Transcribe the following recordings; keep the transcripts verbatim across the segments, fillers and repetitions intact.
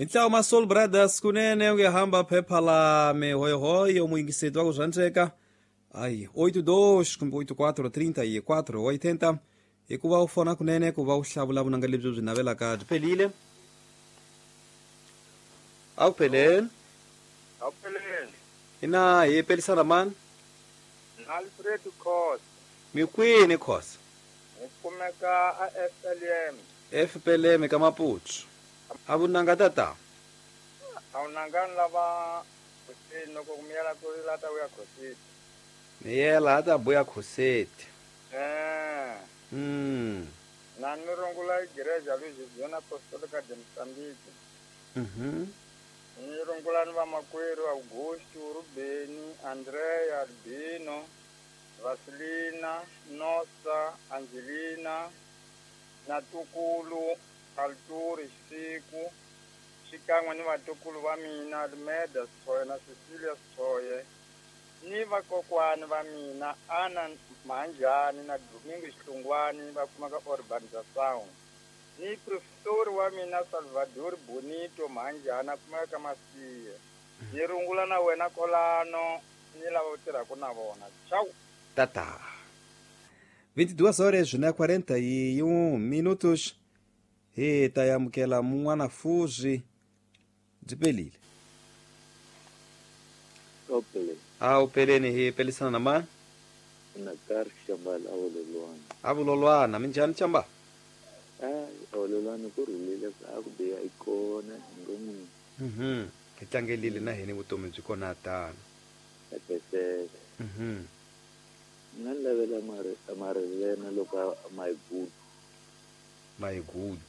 Hi ntlawa ma Soul Brothers kunene uyahamba phepha la mihoyohoyo muyingiseti wa ku zvandzeka ai oito dois kumbe oito quatro trinta e quatro oitenta hikuva u fona kunene ku va u hlavula vunanga lebyi byi navelaka byi phelile a wu pheleni a wu pheleni ina hi pelisana mani Alfred Khosa mi kwini Khosa hi kumeka a F L M F P L M ka Maputo a vunanga tata a vunanga lava khosini loko ku miyela ku lata vuya khoseti miyela a ta buya khoseti eh mm na ni rungula igreja Louisiana Apostolica de Mozambique mhm ni rungula ni vamakwerhu Augusto Rubeni Andrea Albino Vasilina Nosa Angelina na tukulu Alturi Siku xikan'we ni vatukulu va mina Almeda Sithoye na Cecilia Sithoye ni vakokwani va mina Ana Mhanjani na Domingo Xihlungwani va kumaka Urbanzação ni professor wa mina Salvador Bonito Mhanjani a kumeka ka Masiye ni rungula na wena kolano ni lava u tirhaka na vona tchau tata vinte e duas horas na quarenta e um minutos hi ta amukela mun'wana fuzi byi pelile a wu peleni hi pelisana na mani na karhi Xambala a vulolwana a vulolwana minjhani Xambala hayi a vulolwana ku rhulile a ku biha i kona hi ngo n'wini mhm hi tlangelile na hina vutomi byi kona tano etesele mhm nga ni lavela mari marilena loko a my good my good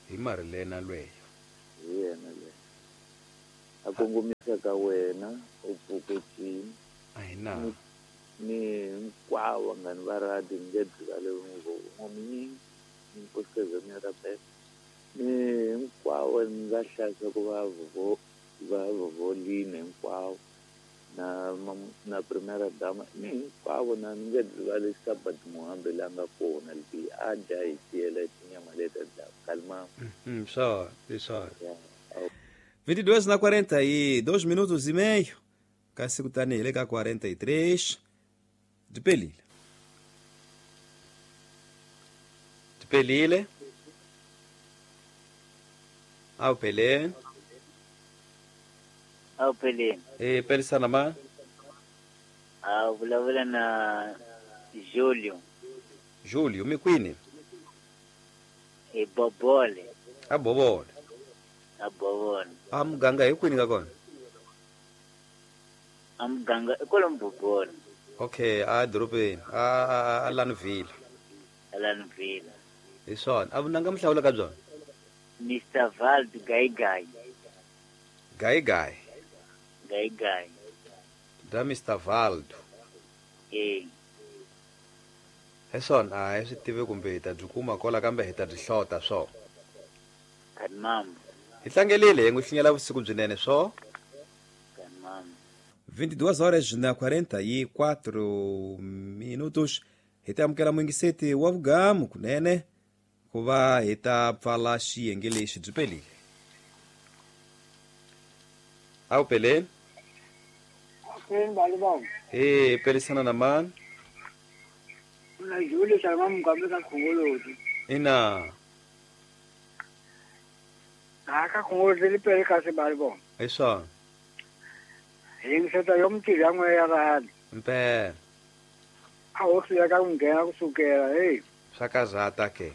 hi marilena lweyo hi yena leyo a kongomisa ka wena u pfukecini a hi na ni hinkwavo vanghani va radi ni nge byi ngomnyingi ni nkosikazi wa mina Rabela ni hinkwavo ni nga hlayisa ku va va vovolini hinkwavo na na primera dama ni hinkwavo na ni nge rivali Sabat Muhambe la nga kona leti a dya hi tiyela tinyama leti a dlaka kalimama mm sure sure vinte e dois na quarenta e dois minutos e meio kasi kutani hi le ka quarenta e três byi pelile byi pelile a wu peleni a wu peleni e pelisana ma a vulavula na Julio Julio mi kwini e Bobole a Bobole a Bobole a muganga hi kwini ka kona a muganga i kwalomu Bobole okay a dorobeni a a Lanville a Lanville hi swona a vunanga mihlawula ka byona Mister Vald Gaigai Gaigai Gaigai da Mister Valdo eh hi swona a hi swi tivi kumbe hi ta byi kuma kola kambe hi ta byi hlota swo kanmam hi tlangelile hi n'wi hlinyela vusiku byinene swo kanmam vinte e duas horas na quarenta e quatro minutos hi ta amukela muyingiseti wa vugamu kunene ku va hi ta pfala xiyenge lexi byi pelile a wu peleni e pelisana na mani na Julio Salma Mugambe ka Khongoloti ina a ka Khongoloti li pele ka se bali bona hi swona yingiseta yo mtirhi ya n'we ya rhadi mpela a ho hluleka ku nghena kusukela hey swa kazata ke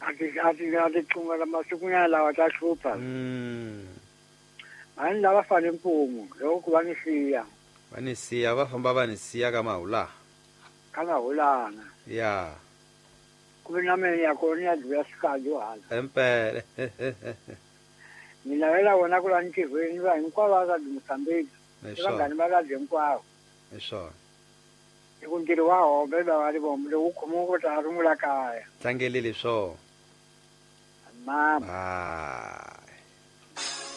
a ti a ti a ti xungela masikunyana lawa ta hlupha mm a ni lava fane mpumu loko ku va ni siya va ni siya va famba va ni siya ka mahula ka mahulana ya ku vi na mina ya kona ya dluya swikandzu hala empele ni lavela wona ku la ntirhweni va hinkwavo va ka Mozambique i vanghani va radi hinkwavo hi swona hi ku ntirho wa hombe va va ri vombe lowu khomiwa ku ta rungula kaya tlangelile swo mama ah